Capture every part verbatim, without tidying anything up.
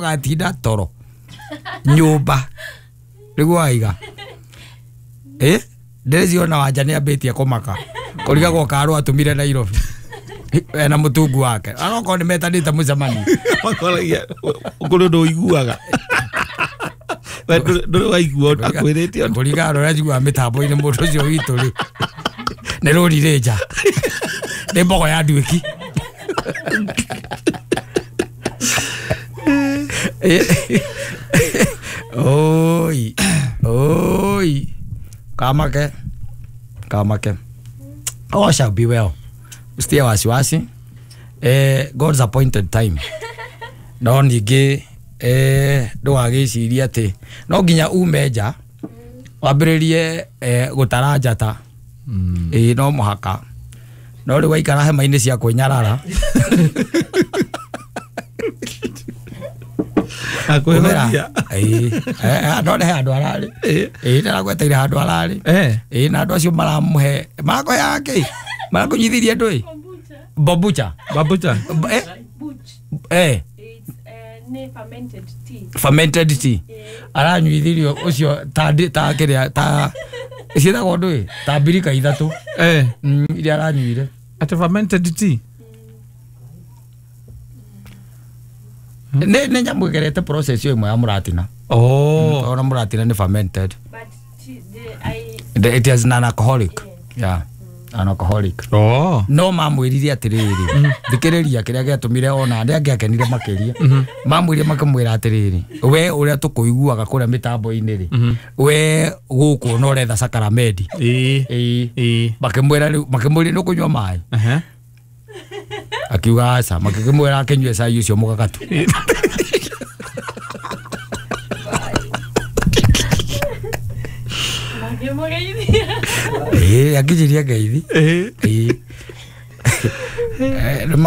Gatinda toro nyumba niguo aiga eh ndĩreciona Wanja nĩ ambĩtie kũmaka kũrigagwo karũ atũmire Nairobi ena mũtungu wake arokorwo nĩ metanĩte mũcemanio makoragia kũrĩ ũndũ ũiguaga we ndũrĩ waigua akwĩrĩte ũndũ kũringana na ũrĩa njiguaga mĩtambo-inĩ mũndũ ũcio witũ rĩ nĩ rũri rĩ nja nĩ mbogo ya nduĩki. Oi oi kamake kamake all shall be well. Usitie wasiwasi, eh, God's appointed time. No ningĩ eh, ndũgagĩcirie atĩ no nginya ume nja wambĩrĩrie eh, gũtara njata. Mm. Ĩĩ no mũhaka no rĩu waikara hema-inĩ cia kwĩnyarara akwĩhoria. Ĩĩ no nĩ handũ ararĩ. Ĩĩ nĩragweteire handũ ararĩ. Ĩĩ na andũ acio maramũhe marakũheaga kĩ marakũnyithirie ndũĩ bombucha Bombucha eh eh fermented tea. Fermented tea. Aranyuithirio ucio ta ta kiria ta ciĩtagwo ndũĩ ta mbirika ithatũ eh iria aranyuire ati fermented tea. Nĩ nĩ nyamũ ĩgerete process ĩyo ĩmwe ya mũratina. Oh, ona mũratina nĩ fermented. But tea, the, I it is non alcoholic. Yeah. Alcoholic. Oh. No mamwĩrire atĩrĩrĩ thikĩrĩria kĩrĩa gĩatũmire ona arĩa angĩ akenire makĩria mamwĩrire makamwĩra atĩrĩrĩ we ũrĩa tũkũiguaga kũrĩa mĩtambo-inĩ rĩ we gũkũ no ũretha sakaramedi. Ĩĩ ĩĩ makĩmwĩra rĩu makĩmwĩra nĩ ũkũnyua maĩ akiuga aca makĩmwĩra akĩnyue cai ũcio mũgagatu. Eh, akĩnjĩria ngeithi. Ĩĩ.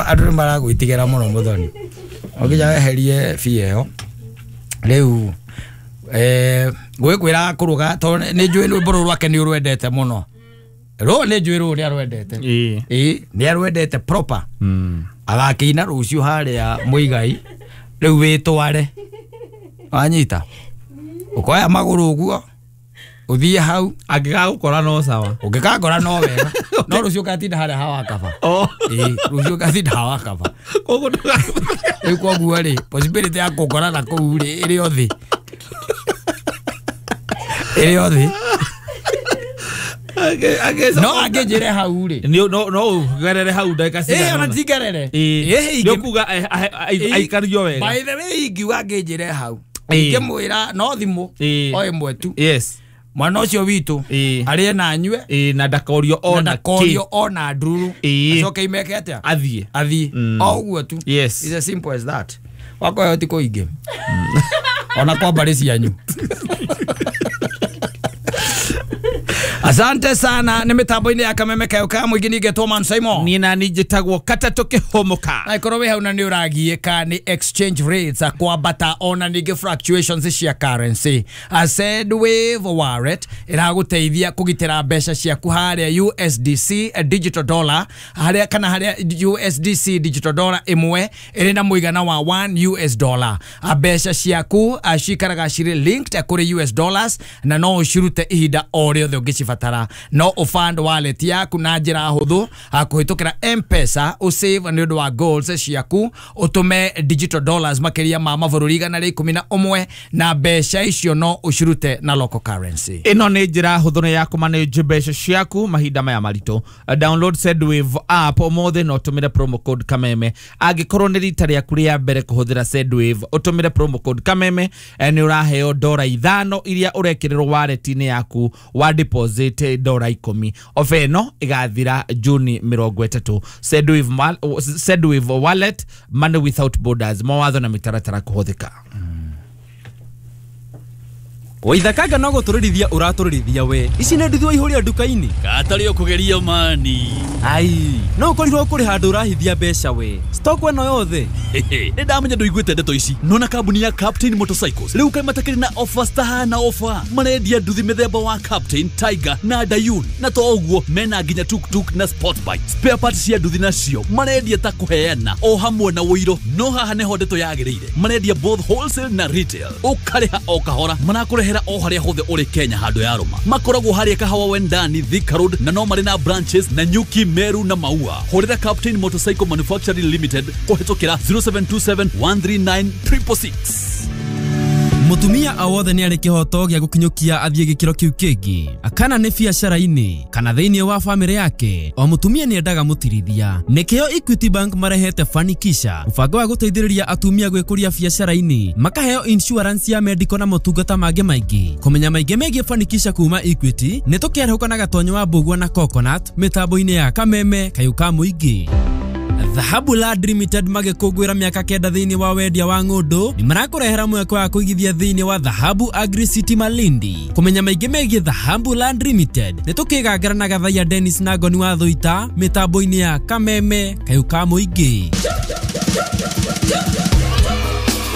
Andũ nĩ maragwĩtigĩra mũno Mũthoni. Ũngĩnya weherie bia ĩyo. Rĩu eh gwĩkwĩra kũruga tondũ nĩ njũĩ rwĩmbo rũrũ rwake nĩ ũrwendete mũno. Rũũ nĩ njũĩ rũũ nĩ arwendete. Ĩĩ, nĩ arwendete proper. Agakĩina rũciũ harĩa Mũigai. Rĩu wĩtware. Wanyita. Ũkoya magũrũ ũguo. Uthie hau angĩgagũkora no sawa ũngĩkangora no wega no rũciũ ũgatinda harĩa hawa kaba. Oh ĩĩ rũciũ ũgatinda hawa kaba koguo rĩu koguo rĩ possibility ya kũngora na kũu rĩ ĩrĩ o thĩ ĩrĩ o thĩ no angĩnjĩre hau rĩ no no ũgerere hau ndagĩka cigana ĩĩ ona ndingerere ĩĩ nĩ ũkuga aikario wega by the way ingiuga angĩnjĩre hau ingĩmwĩra no thimũ o ĩmwe tu. Yes. Mwana ũcio witũ arĩe na anyue na ndakorio ona ndakorio ona ndururu acoke imeke atĩa athiĩ athiĩ o ũguo tu. Yes. It's as simple as that. Wakoya ti kũingĩ ona kwa mbarĩ cianyu. Asante sana nĩ mĩtambo-inĩ ya Kameme kayo ka mũingĩ ningĩtwo Man Simon. Niĩ na niĩ njĩtagwo Katatũ Kĩhũmũka. Na ikorwo wĩ hau na nĩ ũragiĩka nĩ exchange rates kwambata ona ningĩ fluctuations cia currency. Sendwave wallet ĩragũteithia kũgitĩra mbeca ciaku harĩa U S D C digital dollar harĩa kana harĩa U S D C digital dollar ĩmwe ĩrĩ na mũigana wa one U S dollar. Mbeca ciaku cikaraga cirĩ linked kũrĩ U S dollars na no ũcirute ihinda o rĩothe ũngĩcibatara. No ũfund wallet yaku na njĩra hũthũ kũhĩtũkĩra M-Pesa ũsave nĩ ũndũ wa goals ciaku ũtũme digital dollars makĩria ma mabũrũri igana rĩa ikũmi na ũmwe na mbeca icio no ũcirute na local currency. Ĩno nĩ njĩra hũthũ nĩ ya kũmanage mbeca ciaku mahinda maya maritũ. Download Sendwave app ũmũthĩ na ũtũmĩre promo code Kameme. Angĩkorwo nĩ rita rĩaku rĩa mbere kũhũthĩra Sendwave ũtũmĩre promo code Kameme nĩ ũraheo dora ithano iria ũrekĩrĩrwo wallet-inĩ yaku wa deposit dora ikũmi. Ofa ĩno ĩgathira Juni mĩrongo ĩtatũ. Sendwave Sendwave wallet, money without borders. Mawatho na mĩtaratara kũhũthĩka. Mm. Waithakanga no gũtũrĩrithia ũratũrĩrithia we. Ici nĩ nduthi waihũria nduka-inĩ. Gatarĩ ũkũgeria mani. Ai, no ũkorirwo kũrĩ handũ ũrahithia mbeca we. Stock ĩno yothe. Nĩ ndamenya ndũiguĩte ndeto ici. Nona kambuni ya Captain Motorcycles rĩu kaĩ matakĩrĩ na offers tahana offer. Marendia nduthi mĩthemba wa Captain, Tiger na Dayun. Na to ũguo mena nginya tuktuk na sport bike. Spare parts cia nduthi nacio marendia ta kũheana o hamwe na ũiro. No haha nĩho ndeto yagĩrĩire. Marendia both wholesale na retail. Ũkarĩha o kahora. Marakũrehera o harĩa hothe ũrĩ Kenya handũ ya rũma. Makoragwo harĩa Kahawa Wendani, Thika Road, na no marĩ na branches na Nyuki, Meru na Maua. Hũrĩra Captain Motorcycle Manufacturing Limited kũhĩtũkĩra zero seven two seven one three nine triple six. Mutumia o wothe nĩ arĩ kĩhoto gĩa gũkinyũkia athiĩ gĩkĩro kĩu kĩngĩ, kana nĩ biacara-inĩ kana thĩinĩ wa bamĩrĩ yake. O mũtumia nĩ endaga mũtirithia. Nĩkĩo Equity Bank marehete Fanikisha, mũbango wa gũteithĩrĩria atumia gwĩkũria biacara-inĩ, makaheo insurance ya medical na motungata mangĩ maingĩ. Kũmenya maingĩ megiĩ Fanikisha kuma Equity nĩ tũkĩarahũka na Gatonyo wa Mbũgua na Coconut mĩtambo-inĩ ya Kameme Kayũ ka Mũingĩ. Dhahabu Land Limited magĩkũngũĩra mĩaka kenda thĩinĩ wa wendia wa ng'ũndũ nĩ marakũrehera mweke wa kũigithia thĩinĩ wa Dhahabu Agri City Malindi. Kũmenya maingĩ megiĩ Dhahabu Land Limited nĩ tũkĩgangara na Gathaiya Dennis na Ngoni wa Thũita mĩtambo-inĩ ya Kameme Kayũ ka Mũingĩ.